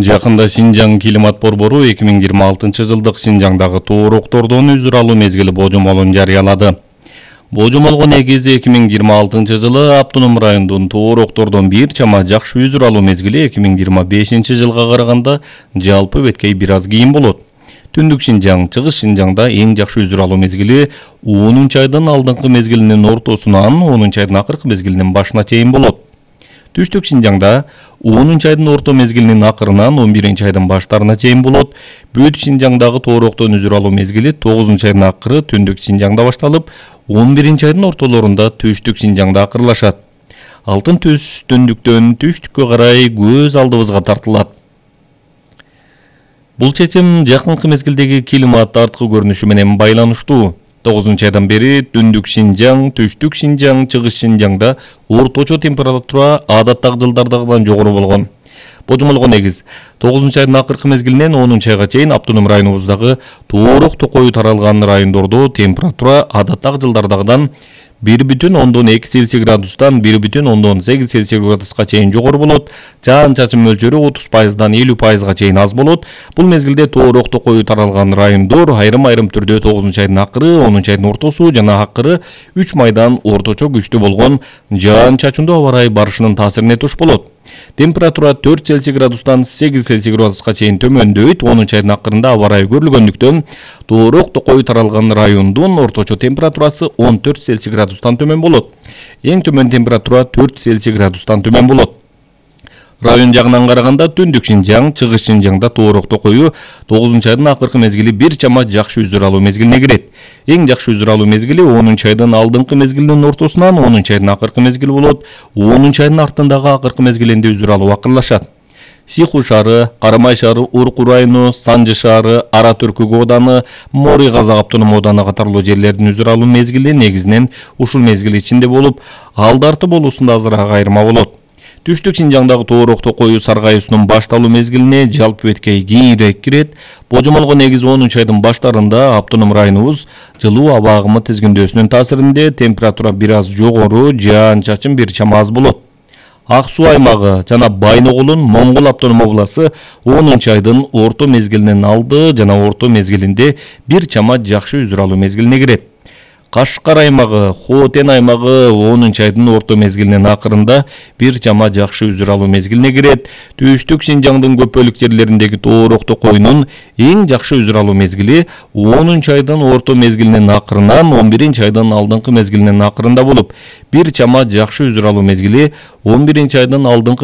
Жакында Синжаң климат борбору 2026 жылдык Синжаңдагы тоороктордон үзүр алуу мезгили божомолун жарыялады. Божомолго негиз 2026 жылы автоном райондун тоороктордон бир чама жакшы үзүр алуу мезгили 2025 жылга караганда жалпы беткей бир аз кийин болот. Түндүк Синжаң, Чыгыш Синжаңда эң жакшы үзүр алуу мезгили 10-айдын алдыңкы мезгилинин ортосунан 10-айдын акыркы мезгилинин башына чейин болот. Түштүк Синжаңда 10-айдын орто мезгилинин акырынан 11-айдын баштарына чейин болот. Бүт Синжаңдагы тоороктон үзүр алуу мезгили 9-айдын акыры Түндүк Синжаңда башталып, 11-айдын ортолорунда Түштүк Синжаңда акырлашат. Алтын түс түндүктөн түштүккө карай көз алдыбызга тартылат. Бул чечим жакынкы мезгилдеги климат арткы көрүнүшү менен байланыштуу. 9-айдан бери Түндүк Синжаң, Түштүк Синжаң, Чыгыш Синжаңда орточо температура адаттагы жылдардагыдан жогору болгон. Божомолго негиз 9-айдын акыркы мезгилинен 10-айга чейин автоном районубуздагы тоорок токою таралган райондордо температура адаттагы жылдардагыдан 1,2 Цельсий градустан 1,8 Цельсий градуска чейин жогору болот. Жаан-чачын мөлчөрү 30%дан 50%га чейин аз болот. Бул мезгилде тоорок токою таралган райондор айрым-айрым түрдө 9-айдын акыры, 10-айдын ортосу жана акыры 3 майдан орточо күчтүү болгон жаан-чачындуу аба ырайы барышынын таасирине туш болот. Температура 4 Цельсий градустан 8 Цельсий градуска чейин төмөндөйт. 10-айдын акырында аба ырайы көрүлгөндүктөн тоорок токою таралган райондун орточо температурасы 14 Цельсий градустан төмөн болот. Эң төмөн температура 4 Цельсий градустан төмөн болот. Район жагынан караганда Түндүк Синжаң, Чыгыш Синжаңда тоорок токою 9-айдын акыркы мезгили бир чама жакшы үзүр алуу мезгилине кирет. Эң жакшы үзүр алуу мезгили 10-айдын алдыңкы мезгилинин ортосунан 10-айдын акыркы мезгил болот. 10-айдын артындагы акыркы мезгилинде үзүр алуу акырлашат. Сиху шаары, Карамай шаары, Урку району, Санжы шаары, Ара Түркүк ооданы, Мори Казак автоном ооданы катарлуу жерлердин үзүр алуу мезгили негизинен ушул мезгил ичинде болуп, Алдарты болуусунда азыраак айырма болот. Түштүк Синжаңдагы тоорок токою саргайуусунун башталуу мезгилине жалпы беткей кийинирээк кирет. Божомолго негиз 10-айдын баштарында автоном районубуз жылуу аба агымы тизгиндөөсүнүн таасиринде температура бир аз жогору, жаан-чачын бир чама аз болот. Ак суу аймагы жана Байноголун Моңгол автоном обласы 10-айдын орто мезгилинин алды жана орто мезгилинде бир чама жакшы үзүр алуу мезгилине кирет. Кашкар аймагы, Хотен аймагы 10-айдын орто мезгилинин акырында бир чама жакшы үзүр алуу мезгилине кирет. Түштүк Синжаңдын көп бөлүк жерлериндеги тоорок токоюнун эң жакшы үзүр алуу мезгили 10-айдын орто мезгилинин акырынан 11-айдын алдыңкы мезгилинин акырында болуп, бир чама жакшы үзүр алуу мезгили 11-айдын алдыңкы